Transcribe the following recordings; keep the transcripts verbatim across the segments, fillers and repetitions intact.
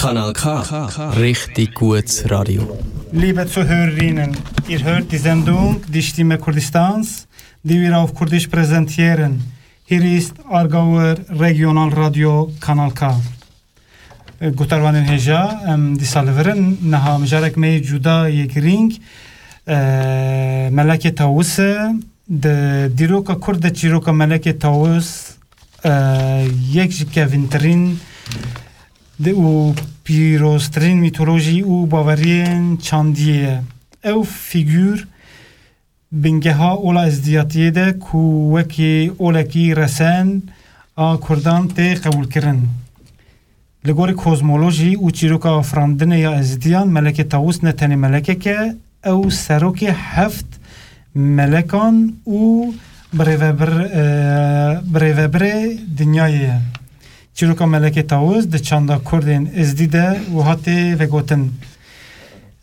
Kanal K, Richtig gut Radio. Liebe Zuhörerinnen, ihr hört die Sendung Die Stimme Kurdistans, die wir auf Kurdisch präsentieren. Hier ist Aargauer Regionalradio Kanal K. Gutarvanên hêja, em dîsa li vir in. Niha mijarek me yê cuda yê girîng, e, Melekê Tawus e. Di dîroka Kurd de çîroka Melekê Tawus, e, yek ji kevîntirîn di û pîroztirîn mîtolojî û baweriyên çandiyê ye. Ew fîgûr bingeha ola Êzdiyatiyê de ku wekî olekî resen a Kurdan tê qebûlkirin. Li gorî kozmolojî û çîroka afirandinê ya Êzidiyan, Melekê Tawus ne tenê melekek e, ew serokê heft melekan û birêvebir-, e, birêvebirê dinyayê ye. Çîroka Melekê Tawus di çanda Kurdên Êzdî de wiha tê vegotin.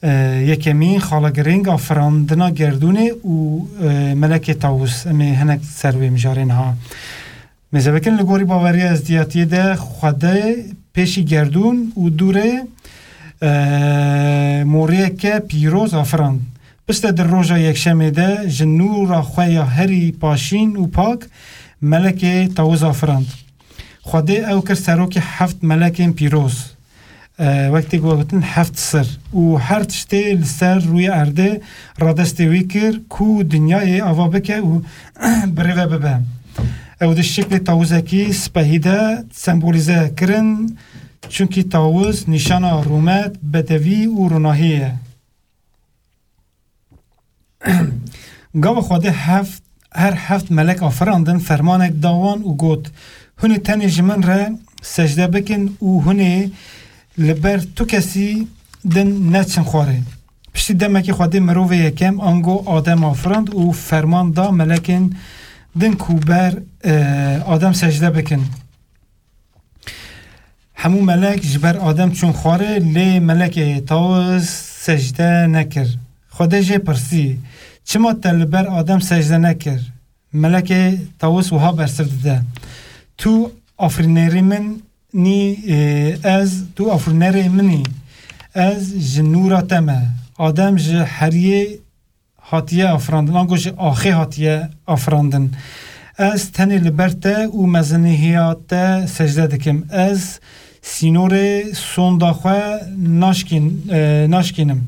E, yekemîn xala girîng a firandina gerdûnê û, e, Melekê Tawus. Em ê hinek ser wê mijarê niha. Mêze bikin, li gorî baweriya Êzdiyatiyê de Xwedê pêşî gerdûn û dûrê, e, moriyeke pîroz afirand. Piştre di roja yekşemê de ji nûra xwe ya herî paşîn û pak Melekê Tawus afirand. Xwedê ew kir serokê heft melekên pîroz. E, wek tê gotin heft sir û her tiştê li ser rûyê erdê radestê wî kir ku dinyayê ava bike û birêve bibe. Ew di şiklê tawizekî spehî de sembolîze kirin, çunkî tawiz nîşana rûmet, bedewî û ronahiyê ye. Gava Xwedê heft, her heft melek afirandin, fermanek da wan û got, Hûn ê tenê ji min re secde bikin û hûn ê li ber tu kesî din neçin xwarê. Piştî demekê Xwedê mirovê yekem ango Adem afirand û ferman da melekên din ku ber, e, Adem secde bikin. Hemû melek ji ber Adem çûn xwarê, lê melekê Tawus secde nekir. Xwedê jê pirsî, Çima te li ber Adem secde nekir? Melekê Tawus wiha bersiv dide, Tu afirînerê min î, e, ez, tu afirînerê min î, ez ji nûra te me. Adem ji heriyê hatiye afirandin, ango ji axê hatiye afirandin. Ez tenê li ber te û mezinihiya te secde dikim. Ez sînorê sonda xwe naşkîn-, e, naşkînim.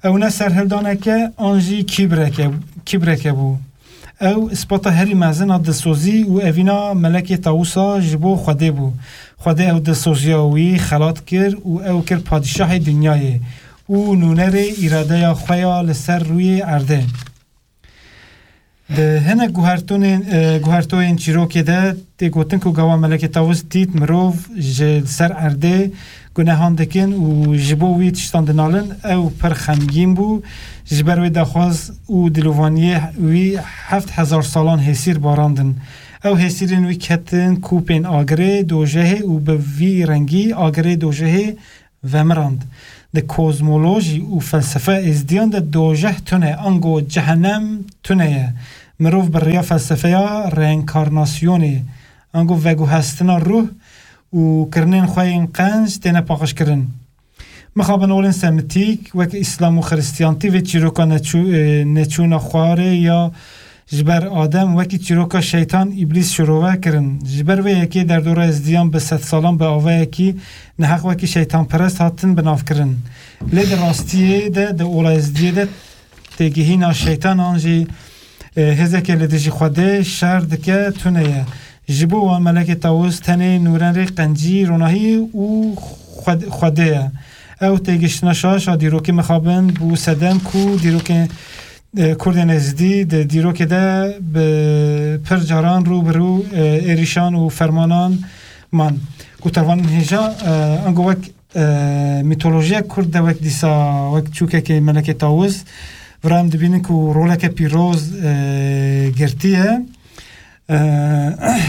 Ew ne serhildaneke an jî kîbreke, kîbreke bû. Ew ispata herî mezin a dilsozî û evîna melekê Tawusa ji bo Xwedê bû. Xwedê ew dilsoziya wî xelat kir û ew kir padîşahê dinyayê û nûnerê îradeya xwe ya li ser rûyê erdê. Di hinek guhertonên, e, guhertoyên çîrokê de tê gotin ku gava Melekê Tawus dît mirov ji li ser erdê gunehan dikin û ji bo wî tiştan dinalin, ew pir xemgîn bû. Ji ber wê daxwaz û dilovaniyê wî heft hezar salan hêsîr barandin. Ew hêsîrên wî ketin kûpên agirê dojehê û bi vî rengî agirê dojehê vemirand. Di kozmolojî û felsefe êzdiyan de dojeh tune, ango cehenem tune ye. Mirov bi rêya felsefeya reenkarnasyonê, ango veguhestina ruh û kirinên xwe yên qenc têne paqijkirin. Mixabin olên semitîk, wek Îslam û Xiristiyantî vê çîroka neçû-, e, neçûna xwarê ya ji ber Adem wekî çîroka şeytan, îblîs şirove kirin. Ji ber vê yekê derdora êzdiyan bi sedsalan bi avayekî neheq wekî şeytanperest hatin binavkirin. Lê di rastiyê de, di ola êzdiyê de têgihîna şeytan an jî, e, hêzeke li dijî Xwedê şer dike tune ye. Ji bo wan Melekê Tawus tenê nûnerê qencî, ronahî û Xwed-, Xwedê ye. Ew têgihiştina şaş a dîrokê mixabin bû sedem ku dîrokê e, Kurdên Êzidî di dîrokê de bi pir caran rû bi rû, e, êrîşan û fermanan man. Gutarvanên hêja, e, ango wek, e, mîtolojiya Kurd de wek dîsa, wek çûkekê Melekê Tawus, vira em dibînin ku roleke pîroz, e, girtiye. E,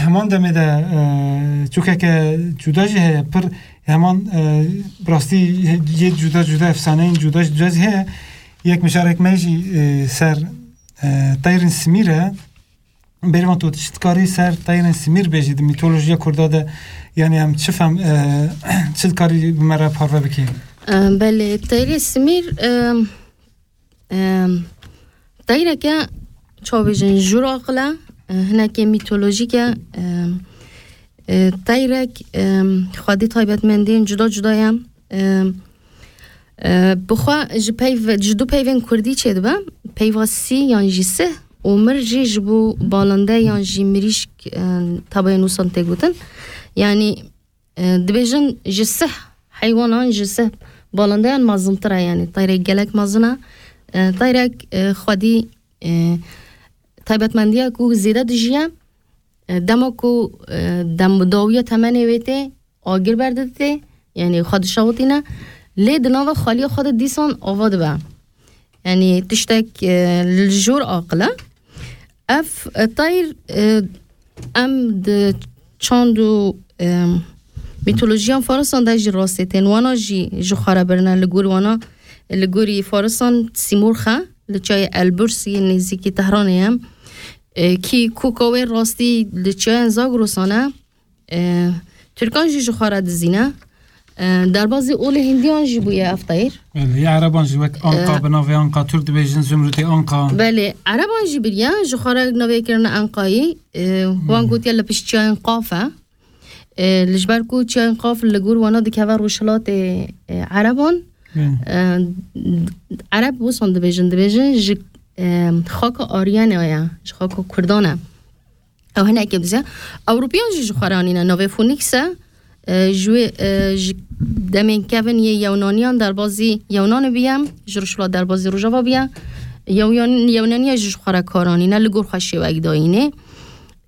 heman demê de, e, çûkeke cuda jî heye, pir heman, e, bi rastî yê cuda cuda, efsaneyên cuda cuda jî heye. Yek mijarek me jî, e, ser, e, teyrên simîr e. Bêrvan, tu çi dikarî ser teyrên simîr bêjî di mîtolojiya Kurda de, yanî em çi fem, e, çi dikarî bi me re parve bikî? E, belê, teyrê simîr, e, e, teyreke çavêjin jûr aqil e, e, hinekê mîtolojîk e, e, e, teyrek, e, xwedî taybetmendiyên cuda cuda ye. E, e, bi xwe ji peyv-, ji du peyvên kurdî çêdibe, peyva sî yan jî sih û mir jî ji bo balinde yan jî mirîşk, e, tabayê nûsan tê gotin. Yanî, e, dibêjin ji sih heywanan, ji sih balindeyan mezintir e, yanî teyrek gelek mezin e. E, teyrek, e, xwedî, e, taybetmendiya ku zêde dijiye, e, dema ku, e, dem dawiya temenê wê tê, agir berdiditê, yanî xwe dişewitîne, lê di nava xweliya xwe de dîsan ava dibe. Yanî tiştek, e, li jor aqil e. Ev, e, tayr, e, em di çand û, e, mîtolojiyan farisan de jî rastê tên. Wana jî ji xwe re birine li gor wana, li gorî farisan Sîmorx e, li çiyayê Elburs yê nêzîkî Tehranê ye. E, kî koka wê rastî li çiyayên Zagrosan e. E, Tirkan jî ji xwe re dizîne. E, derbazî olê Hindiyan jî bûye ev teyr. Belê, ya Ereban jî wek Anqa, E, bi navê Anqa, Tirk dibêjin Zumrudê Anqa. Belê, Ereban jî biriye, ji xwe re navê kirine Enqayî. E, wan Hmm. gotiye li pişt çiyayên Qaf e. E, li ji ber ku çiyayên Qaf li gor wana dikeve rojhilatê, e, Ereban. Hmm. E, Ereb wisan dibêjin, dibêjin ji, e, xaka Aryanê ye, ji xaka Kurdan e. Ew hinekê bize. Ewropiyan jî ji xwe re anîne navê Phoenix e. E, ji wê, e, ji demên kevin yê Yewnaniyan derbazî Yewnan biye, ji Rojhila derbazî Rojava biye. Yewyan-, Yewnaniya jî ji xwe re kar anîne, li gor xwe şêwek dayînê.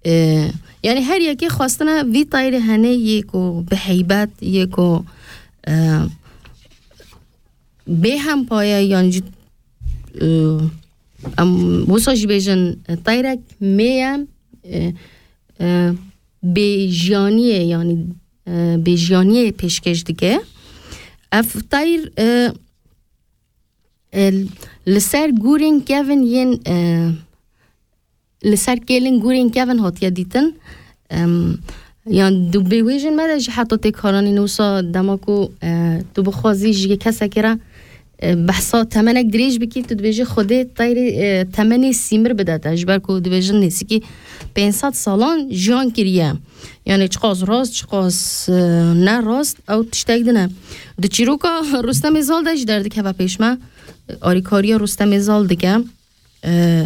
E, yanî her yekê xwestine vî tayrê hene yê ku bi heybet, yê ku, e, bê hempaye yan jî, e, em wisa jî bêjin, e, tayrek mê ye, e, e, bê jiyaniyê, yanî, e, bê jiyaniyê pêşkêş dike. Ev tayr, e, e, li ser gûrên kevin yên, e, li ser kêlên gûrên kevin hatiye dîtin. Em, yan di bêwêjên me de jî heta tê karanîn wisa dema ku, e, tu bixwazî ji yê kesekê re, e, behsa temenek dirêj bikî, tu dibêjî Xwedê teyrê, e, temenê sîmir bide te. Ji ber ku dibêjin nêzîkî pênc sed salan jiyan kiriye. Yanî çiqas rast, çiqas, e, ne rast, ew tiştek din e. Di çîroka Rustemê Zal de jî derdikeve pêş me. Alîkariya Rustemê Zal dike. E,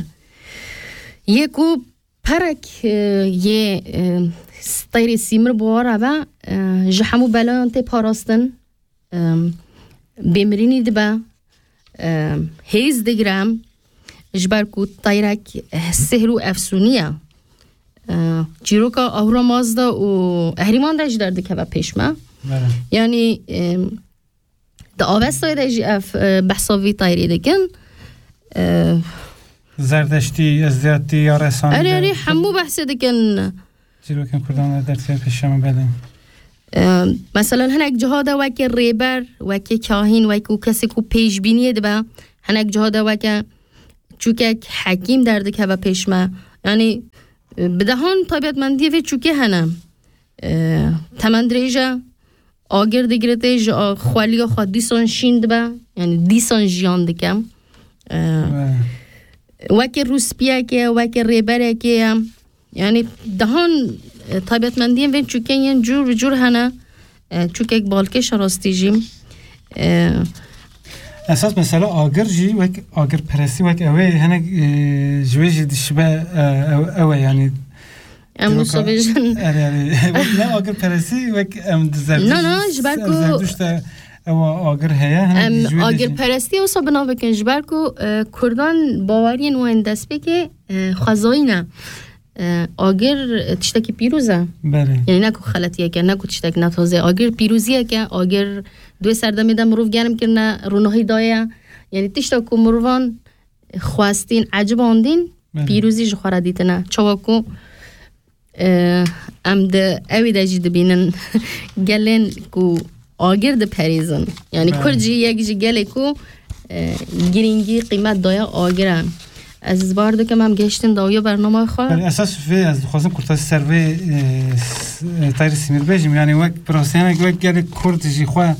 yê ku perek, e, yê, e, teyrê sîmir bi we re be, e, ji hemû belayan tê parastin, e, bêmirînî dibe, e, hêz digire, ji ber ku teyrek, e, sihr û efsûnî ye. E, çîroka Ahura Mazda û Ehrîman de jî derdikeve pêş me. Belê. Yanî, e, Di Avestayê de jî ev, e, behsa vî tayrê dikin. E, Zerdeştî, Ezdiyatî, ya Resanî Erê, de erê, hemû behsê dikin. Çîrokên Kurdan de dertî pêşe me, belê. E, meselen, hinek ciha de weke rêber, weke kahîn, weke kesê ku pêşbîniyê dibe, hinek ciha de weke çûkek hekîm derdikeve pêş me. Yanî, e, bi dehan taybetmendiyê vê çûkê hene. E, temen dirêj e, agir digirê tê, ji a-, xweliya xwe dîsan şîn dibe, yanî dîsan jiyan dike. E, Evet. weke rûspiyekê, weke rêberekê ye. Yanî dehan, e, taybetmendiyên vê çûkên yên cûr bi cûr hene. E, çûkek balkêş e rastî jî. E, Esas mesela agir jî wek agirperestî wek ew ê hinek, e, ji wê jî dişibe, e, ew, ew e yanî. Em Dîroka wisa bêjin. Erê, erê. Wek ne agirperestî, wek em di Zerdişt, Na, na, ji ber em ku Zerdişt de ew agir heye, hinek em jî ji wê de jî. agirperestî wisa binav bikin, ji ber ku, e, Kurdan baweriyên wan destpêkê, e, xwezayî ne. E, agir, e, tiştekî pîroz e. Belê. Yanî ne ku xeletiyek e, ne ku tiştek ne tazê. Agir pîroziyek e, agir di wê serdemê de mirov germ kirine, ronahî daye. Yanî tişta ku mirovan xwestîn, ecibandîn, Belê. pîrozî ji xwe re dîtine. Çawa ku, e, em di ewî de jî dibînin gelên ku agir diperêzin. Yanî Belê. Kurd jî yek ji gelê ku, e, girîngî, qîmet daye agir e. Ez bar dikim em gehiştin dawiya bernama xwe. Belê esas vê ez dixwazim kurtasî ser vê, e, s-, e, Tayr Sîmîr bêjim. Yani wek bi rastî hinek wek gelek Kurd jî xwe,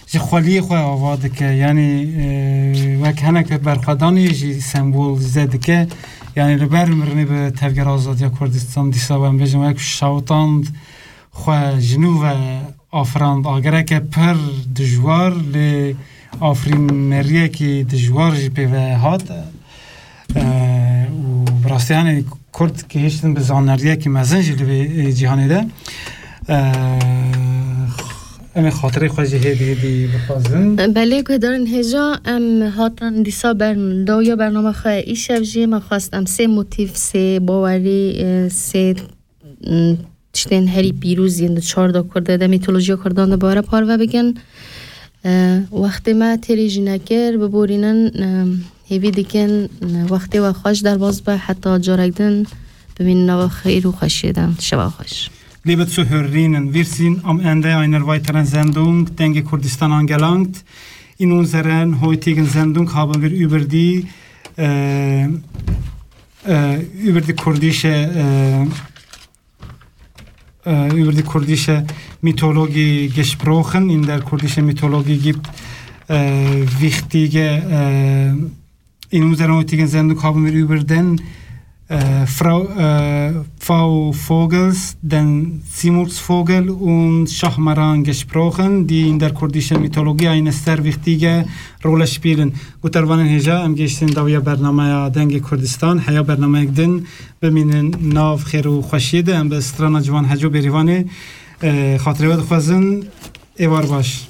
ji xweliyê xwe ava dike. Yani, e, wek hinek berxwedanê jî sembolîze dike. Yani li ber mirinê bi Tevgera Azadiya Kurdistan dîsa em bêjin wek şawitand xwe ji nû ve afirand. Agereke pir dijwar lê afirîneriyekî dijwar jî pê ve hat. E, û bi rastî yani Kurd gihiştin bi zanariyekî mezin jî li vê, e, cîhanê de. E, em ê xatirê xwe jî hêdî hêdî bixwazin. Belê guhdarên hêja, em hatin dîsa ber-, dawiya bernama xwe. Îşev jî me xwest em sê motîf, sê bawerî, e, sê, m, tiştên herî pîroz yên di çar da Kurd de, de mîtolojiya Kurdan de bare parve bikin. E, wextê me têrê jî nekir, biborînin, e, hêvî dikin, e, wextê we xweş derbas be, heta carek din bimînin nava xêr û xweşiyê de. Şeva xweş. Liebe Zuhörerinnen, wir sind am Ende einer weiteren Sendung Dengê Kurdistan angelangt. In unserer heutigen Sendung haben wir über die, äh, äh, über die kurdische, äh, äh, über die kurdische Mythologie gesprochen. In der kurdischen Mythologie gibt, äh, wichtige, äh, in unserer heutigen Sendung haben wir über den, äh, Frau, äh, Pfau Vogels, den Simurgsvogel und Schahmaran gesprochen, die in der kurdischen Mythologie eine sehr wichtige Rolle spielen. Gutarvanên hêja, em gehiştin dawiya bernameya Dengê Kurdistan, heya bernameyek din bimînin nav xêr û xweşiyê de, em bi strana Ciwan Heco Bêrîvanê, e, xatirê we dixwazin, êvar baş.